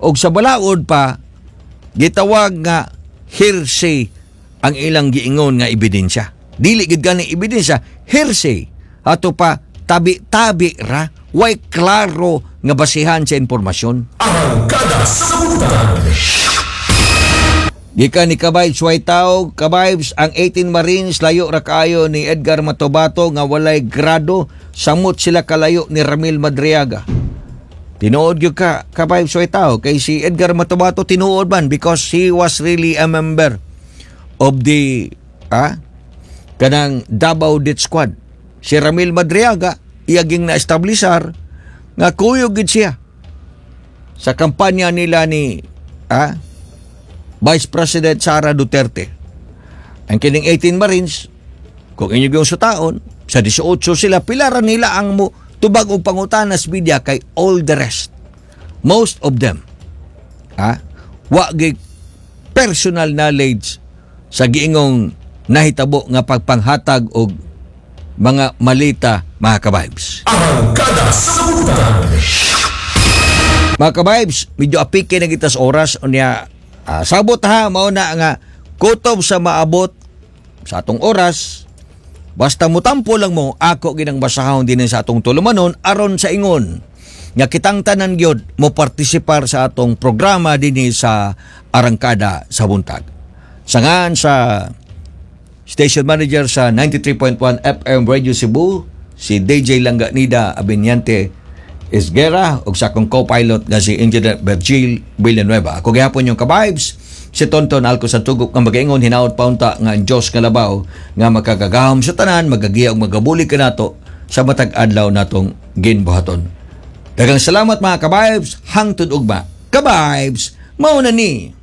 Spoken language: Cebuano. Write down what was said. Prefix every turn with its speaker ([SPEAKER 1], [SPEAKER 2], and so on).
[SPEAKER 1] Og sa balaod pa, gitawag nga hearsay ang ilang giingon nga ebidensya. Dili gid gani ebidensya, hearsay. Ato pa tabi-tabi ra, way klaro nga basihan sa impormasyon.
[SPEAKER 2] Arangkada sa Buntag.
[SPEAKER 1] Gikan ni Kabibes White Tao, Kabibes, ang 18 Marines layo ra kaayo ni Edgar Matobato nga walay grado, samot sila kalayo ni Ramil Madriaga. Tinuod gyud ka, Kabibes White Tao, kay si Edgar Matobato tinuod man because he was really a member of the kanang Davao Death Squad. Si Ramil Madriaga, iyaging na-establisar nga kuyog gid siya sa kampanya nila ni Vice President Sara Duterte. Ang kining 18 Marines, kung inyo yung sutaon, sa 18 sila, pilaran nila ang mo tubag og pangutanas media kay all the rest. Most of them, wa gi personal knowledge sa giingong nahitabo nga pagpanghatag og mga malita, mga kabibes.
[SPEAKER 2] Arangkada sa Buntag.
[SPEAKER 1] Mga kabibes, medyo apike na kita sa oras. Unya, sabot ha, mao na nga kutob sa maabot sa atong oras. Basta mutampo lang mo, ako ginang basahon din sa atong tulumanon aron sa ingon nga kitang tanan gyud mo partisipar sa atong programa dinhi sa Arangkada sa Buntag. Sangan sa station manager sa 93.1 FM Radio Cebu, si DJ Langganida Abenyante Esguera, ug sa akong co-pilot nga si Engineer Virgil Villanueva. Ako gihapon inyong ka-vibes, si Tonton Alco Santugok, nga magaingon hinaot paunta nga ang Diyos nga labaw nga makagagahom sa tanan magagiya ug magabulig kanato sa matag adlaw natong ginbuhaton. Daghang salamat, mga ka-vibes, hangtod ugma. Ka-vibes, mao na ni.